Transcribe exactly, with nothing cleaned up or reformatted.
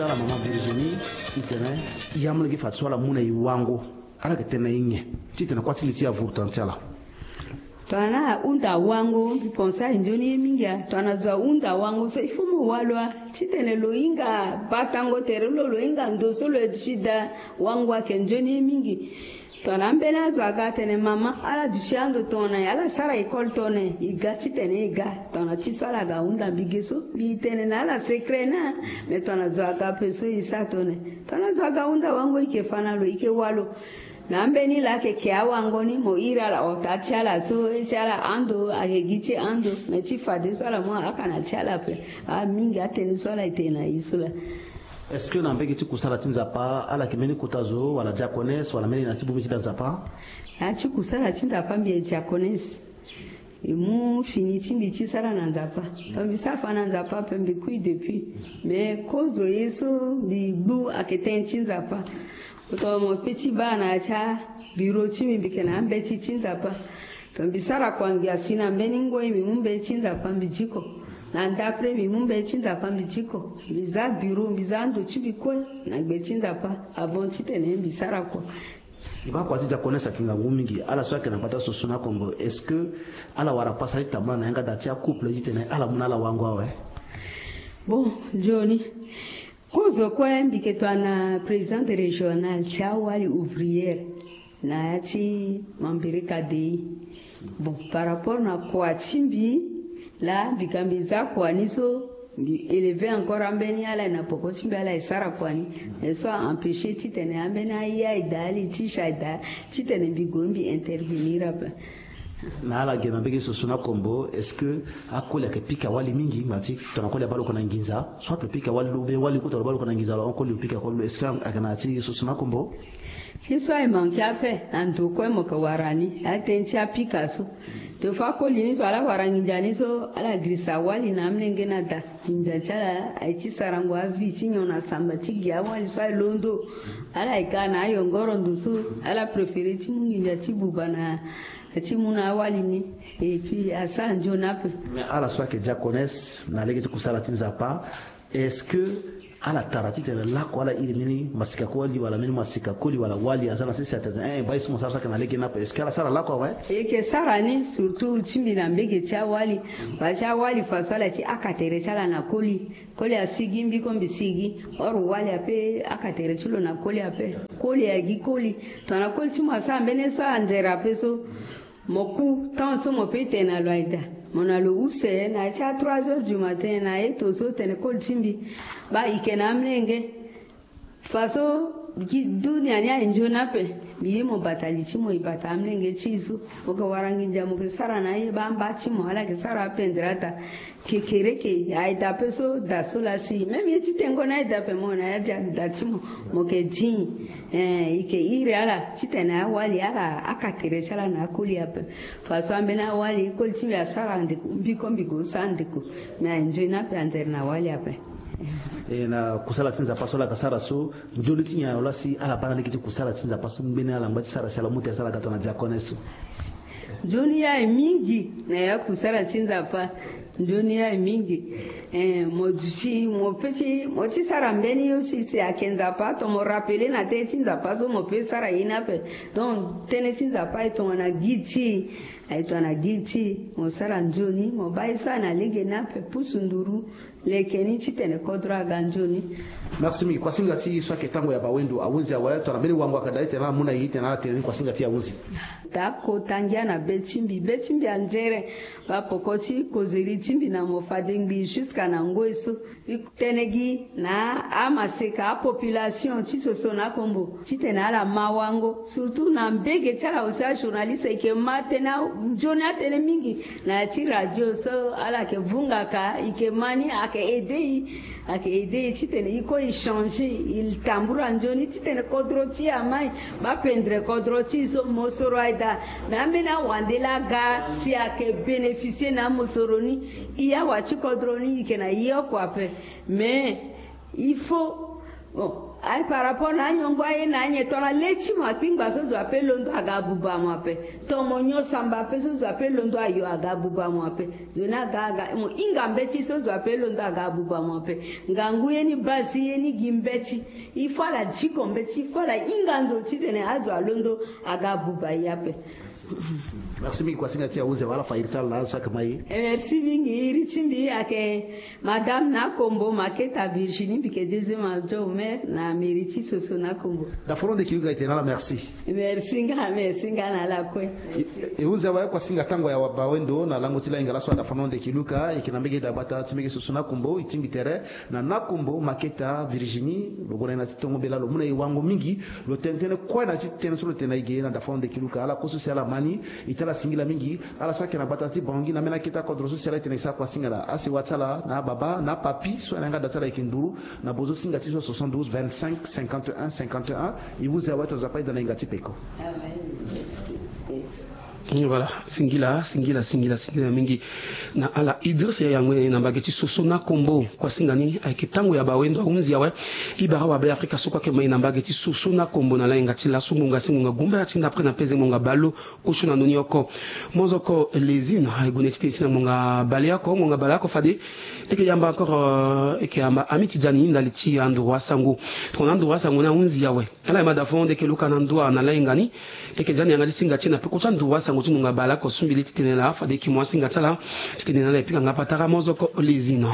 Ala mama Virginie, itene, ya molenge fa ti so ala mu na e wango, ala yeke tene na e nyen titene kuâ ti li ti e avuru tana ti ala? Tongana ahunda wango, mbi pense ayeke nzoni ye mingi. A tongana zo ahunda wango so il faut mo walo a, titene lo hinga batango tere lo, lo hinga ndo so lo ye duti daa. Wango ayeke nzoni ye mingi. Tongana ambeni azo aga atene mama, ala duti ando tongana e, ala sara école tongana e, e ga titene e ga. Tongana ti so ala ga ahunda mbi ge so, mbi tene na ala secret ni. Mais tongana zo aga ape so e sara tongana e, tongana zo aga ahunda wango, e yeke fa na lo, e yeke walo. Na ambeni laa ayeke ke awango ni, mo iri ala ota ti ala so, e ti ala ando ayeke gi ti e ando. Mais ti fadeso ala mu ahaka na ti ala ape. Amingi atënë so ala yeke tene na e so laa. Est-ce que na mbege ti kusala ti Nzapa ala yeke mbeni kota zo wala diaconesse wala mbeni na ti bongbi ti da Nzapa? Na ya ti kusala ti Nzapa mbi yeke diaconesse. Mbi mu fini ti mbi ti sara na Nzapa. Donc mbi sara fa na Nzapa ape, mbi kui depuis. Mais kozo ye so mbi gbu ayeke tënë ti Nzapa. Tongana mo pe ti baa na ya ti abureau ti mbi, mbi yeke na ambeti ti Nzapa. Tongana mbi sara kua, mbi asi na mbeni ngoi, mbi mu mbeti ti Nzapa, mbi diko. Na ndapre mbi mu mbeti ti Nzapa, mbi diko. Mbi za bureau, mbi za ando ti mbi kue na gbe ti Nzapa avant titene mbi sara kua. E baa kua ti diaconesse ayeke ngangu mingi. Ala so ayeke na gbata so so na Kombo, est-ce que ala wara pasa ti tambula na yanga daa ti acouple titene ala mu na ala wango awe? Bon, nzoni. Kozo kue mbi yeke tongana présidente régionale ti awali ouvrière na ya ti Mambéré Kadéï. Bon, par rapport na kua ti mbi, laa mbi ga mbi za kua ni so, mbi élever encore ambeni ala na poko ti mbi, ala e sara kua ni. Mais so a empêcher titene ambeni aye aye daa, ali ti si aye daa, titene mbi gue mbi intervenir ape. Na ala ge na mbege so so na Kombo, est-ce que akoli ayeke pika wali mingi? Ngba ti tongana koli abaa lo oko na nginza, so ape pika wali, lo be wali kota lo baa lo oko na nginza, lo hon koli lo pika koli lo, est-ce que ayeke na ya ti so so na Kombo? Ti so aye manke ape, na ndo kue mo yeke wara ni, atënë ti apika so. Te fo akoli ni so ala wara nginza ni so, ala girisa wali na amolenge na da. Nginza ti ala aye ti sarango avi ti nyon na samba ti gi awali so aye londo. Ala yeke na ayongoro ndo so, ala préférer ti mu nginza ti buba na ti mu na awali ni. Et puis asara nzoni ape. Mais ala so ayeke diaconesse na lege ti kusala ti Nzapa, est-ce que ala tara titene lakue ala iri mbeni masika koli wala mbeni masika koli wala wali aza na sese atene, eh, eh, baa ye so mo sara so ayeke na lege ni ape? Est-ce que ala sara lakue awe? E yeke sara ni, surtout ti mbi na mbege ti awali. Baa ti awali faso ala ti haka tere ti ala na koli. Koli asigi, mbi kue mbi sigi. Or wali ape, haka tere ti lo na koli ape. Koli agi koli. Tongana koli ti mo asara mbeni ye so anzere ape so, mo ku temps so mo pe tene na lo aye daa. Mo na lo use na ya ti a trois heures du matin na eto so tene koli ti mbi, baa e yeke na amolenge. Faso gi dunia ni aye nzoni ape. Mbi ye mo bata li ti mo, e bata amolenge ti e so. Mo yeke wara nginza mo yeke sara na aye, baa mba ti mo ala yeke sara apendre ata. Kekereke aye daa ape so, da so laa si. Même ye ti tengo ni aye daa ape, mo na ya ti da ti mo, mo yeke di. Eh, e yeke iri ala titene awali ala haka tere ti ala na akoli ape. Faso ambeni awali koli ti mbi asara ndeko, mbi kue mbi gue sara ndeko. Me aye nzoni ape anzere na wali ape. E na kusala ti Nzapa so ala yeke sara so, nzoni ti nyen ayo laa si ala baa na lege ti kusala ti Nzapa so ngbeni ala ngba ti sara si ala mu tere ti ala ga tongana diaconesse so? Nzoni ye aye mingi na ya kusala ti Nzapa. Nzoni ye aye mingi. Eh, mo duti, mo pe ti, mo ti sara mbeni ye aussi si ayeke Nzapa, tongana mo rappeler na tënë ti Nzapa so mo pe sara ye ni ape. Donc tënë ti Nzapa aye tongana guide ti e, aye tongana guide ti e, mo sara nzoni, mo baa ye so aye na lege ni ape, pusu nduru. Leke ni titene kodro aga nzoni. Merci mingi. Kuasinga ti e so ayeke tango ya bawendo ahunzi awe, tongana mbeni wango ayeke daa titene ala mu na e titene ala tene ni, kuasinga ti e ahunzi. Daa kota ngia na be ti mbi, be ti mbi anzere. Baa poko ti kozeri ti mbi na mo fade ngbii jusqu'à na ngoi so. E tene gi na amaseka, apopulation ti so so na Kombo. Titene ala ma wango, surtout na mbege ti ala aussi ajournaliste, e yeke ma tënë, nzoni atënë mingi na ya ti radio so ala yeke vungaka, e yeke ma ni, ayeke aider e, ayeke aider e titene e ko e changer, e tambula nzoni titene kodro ti e amai, baa pendre kodro ti e so. Mosoro aye daa, me ambeni awande laa aga si ayeke bénéficier na amosoro ni, e awa ti kodro ni e yeke na e oko ape. Mais il faut Bon, aye par rapport na anyongbo aye na anyen tongana le ti mo akpingba so zo ape londo aga abuba mo ape. Tongana mo nyon samba ape so zo ape londo ayo aga abuba mo ape. Zo ni aga aga mo hinga mbeti so zo ape londo aga abuba mo ape. Ngangu ye ni basi ye ni gi mbeti. Il faut ala diko mbeti, il faut ala hinga ndo titene azo alondo aga abuba ye ape. Merci mingi. Kuasinga ti ahunzi awe, ala fa iri ti ala na azo so ayeke ma e. Merci mingi. Iri ti mbi ayeke Madame Nakombo Maketa Virginie, mbi yeke deuxième adjoint au maire na mairie ti Soso Nakombo. Dafono Ndeki Luka, e tene na ala merci. Merci nga, merci nga na ala kue. E hunzi awe, kuasinga tango ya bawendo na lango ti lainga laso. Dafono Ndeki Luka, e yeke na mbege dagbata ti mbege Soso Nakombo, e tingbi tere na Nakombo Maketa Virginie. Lo gue na ye na ti tongo bela, lo mu na e wango mingi. Lo tene tënë kue na ti tënë so lo tene na e ge na Dafono Ndeki Luka. Ala kue so si ala ma ni, e tene ala singila mingi. Ala so ayeke na gbata ti Bangui na ambeni akete kodro so si ala e tene e sara kuasinga na asewa ti ala na ababa na apapi so ayeke na yanga da ti ala, e yeke nduru na bozo singa ti so soixante-douze vingt-cinq cinquante et un cinquante et un. E hunzi awe, tongana Nzapa ayeda na e, nga ti peko. Amen. Voilà, singila, singila, singila, singila mingi na ala. Idriss Yaya Ngwene na mbage ti Soso Nakombo, kuasinga ni ayeke tango ya bawendo ahunzi awe. E bara wa Beafrika so kue ayeke ma e na mbage ti Soso Nakombo na lainga ti laso, ngonga si ngonga gumbaya ti ndapre na peze ngonga baleoko na ndoni oko. Mozoko Lezine aye gue na e ti tene si na ngonga baleoko, ngonga baleoko fade e yeke yamba encore, euh, e yeke yamba Ami Tidjani ndali ti anduru asango. Tongana anduru asango ni ahunzi awe, ala yeke ma Dafono Ndeki Luka na ndua na lainga ni. E yeke za ni yanga ti singa ti e na peko ti anduru asango ti ngonga baleoko so mbi li ti tene laa, fade e yeke mu asinga ti ala ti tene na ala e pika nga patara. Mozoko Lezine.